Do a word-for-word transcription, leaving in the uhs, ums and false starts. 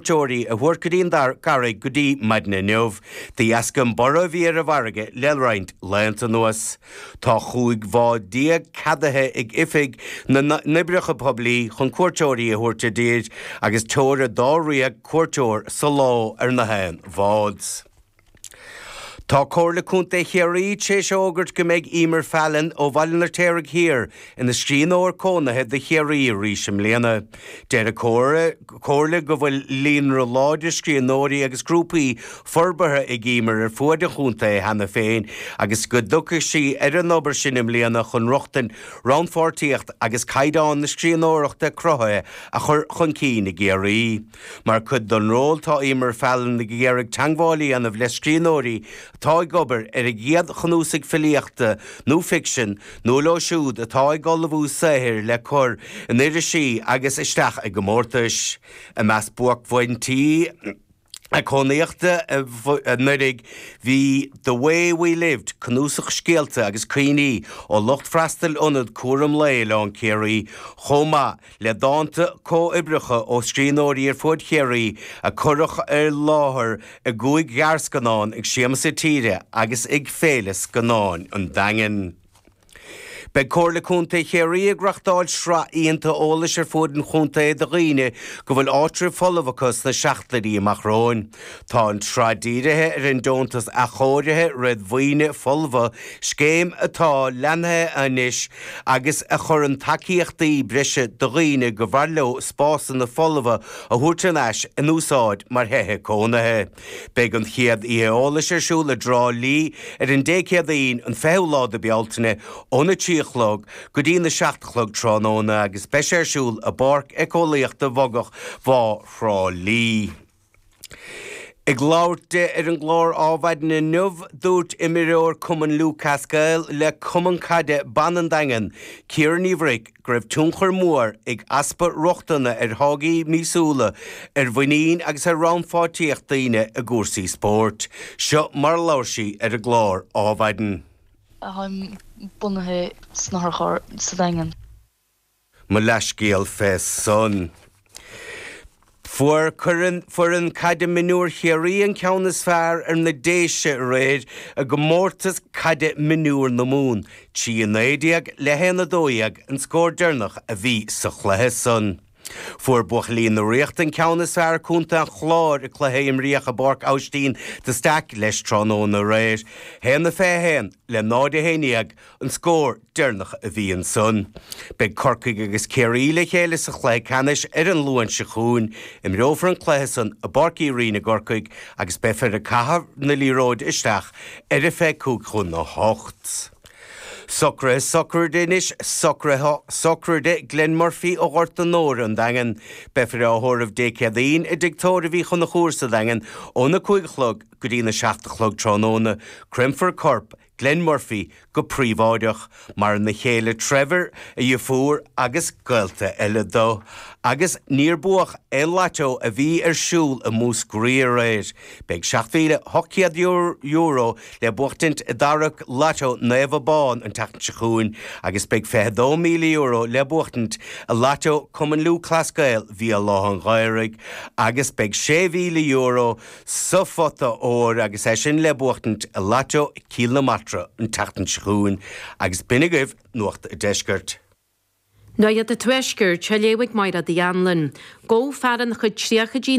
cuairteoirí a thabhairt go dtí an gCarraig go dtí maidin inniu, de dheasca an borradh a bhí ar an bhfarraige le roinnt laethanta anuas. Tá chúig bhád déag ceadaithe ag Oifig na nOibreacha Poiblí chun cuairteoirí a thabhairt i dtír agus teora dáréag cuairteoir sa lá ar na haon bhád. Tá Comhairle Contae Chiarraí tar éis a fhógairt go mbeidh Emer Fallon ó Bhaile an Fheirtéaraigh Thiar ina scríbhneoir cónaithe do Chiarraí arís i mbliana. Deir an Comhairle go bhfuil líonra láidir scríbhneoirí agus grúpaí forbartha ag Emer ar fuaid an chontae cheana féin agus go dtiocfaidh sí ar an obair sin i mbliana chun rochtain, rannpháirtíocht agus caighdeán na scríbhneoireachta cruthaithe a chur chun cinn i gCiarraí. Mar chuid den ról tá Emer Fallon ag iarraidh teagmháil a dhéanamh le scríbhneoirí atá ag obair ar a gcéad chnuasach filíochta nó ficsin nó leo siúd atá ag ullmhú saothair le cur in irisí agus isteach i gcomórtais. I measc buaicphointí a cónaíochta anuraidh bhí The Way We Lived, cnuasach scéalta agus cuimhní ó lucht freastail ionad cúram lae Oileán Ciarraí, chomh maith le dánta comhoibríocha ó scríbhneoirí ar fud Chiarraí a cuireadh ar láthair i gcúig ghearrscannán ag Siamsa Tíre agus ag Féile Scannáin an Daingin. Beidh Comhairle Contae Chiarraí ag reáchtáil sraith oícheanta eolais ar fud an chontae do dhaoine go bhfuil áitreabh folamh acu sna seachtainí amach romhainn. Tá an tsraith dírithe ar an deontas athchóirithe réadmhaoine folmha, scéim atá leathnaithe anois agus a chuireann tacaíochtaí breise do dhaoine go mb'fhearr leo spásanna folmha a thabhairt in ais in úsáid mar thithe cónaithe. Beidh an chéad oíche eolais ar siúl i dTrá Lí ar an Dé Céadaoin an fichiú lá de Bealtaine óna trí a chlog go dtí na seacht a chlog tráthnóna agus beidh sé ar siúl i bPáirc Éiceolaíochta Bhogach Bhá Thrá Lí. Ag labhairt di ar an gclár Adhmhaidin inniu, dúirt imreoir Cumann Lúthchleas Gael le Cumann Caide Ban an Daingin, Ciara Ní Bhruic, go raibh tionchar mór ag easpa rochtana ar tháillí míosúla ar mhuinín agus ar rannpháirtíocht daoine i gcúrsaí spóirt. Seo mar a labhair sí ar an gclár Adhmhaidin. Táim bunaithe san otharcharr sa Daingean. Mo leathscéal fé san. Fuair foireann caide mionúir Chiarraí an ceann is fearr ar na Déise aréir i gcomórtas caide mionúir na Mumhan, trí a naoi déag le haon a dó dhéag an scór deireanach a bhí sa chluiche san. Fuair buachaillí na Ríochta an ceann is fearr ar Chontae an Chláir i gcluiche a imríodh i bPáirc Aibhistín de Staic leis tráthnóna aréir. haon a fiche haon le náid a haon déag an scór deireanach a bhí ansan. Beidh Corcaigh agus Ciarraí le chéile sa chluiche ceannais ar an Luan seo chugainn. Imreofar an cluiche san i bPáirc Uí Rinn i gCorcaigh agus beifear ag caitheamh na liathróide isteach ar a fiche cúig chun a hocht. Socruithe sochraide anois, socruithe sochraide Glenn Murphy ó Ghort an Óir, an Daingean. Beifear á thórramh Dé Céadaoin i dTigh Tórraimh Uí Chonchúir sa Daingean óna cúig a chlog go dtí na seacht a chlog tráthnóna. Créamfar corp Glenn Murphy go príobháideach. Maireann a chéile Trevor, a dheirfiúr agus gaolta eile dó. Agus níor buadh aon lató a bhí ar siúl i Múscraí aréir. Beidh seacht mhíle ocht gcéad euro le buachtaint i dtarrac Lató Naomh Abán an tseachtain seo chugainn agus beidh fiche dó míle euro le buachtaint i Lató Cumann Lúthchleas Gael Bhéal Átha an Ghaorthaidh agus beidh sé mhíle euro sa phota óir agus é sin le buachtaint i Lató Cill na Martra an tseachtain seo chugainn agus b'in agaibh Nuacht an Deiscirt. Nuacht an Tuaiscirt, á léamh ag Máire Uí Anluain. Gabhadh fear ina chuid tríochaidí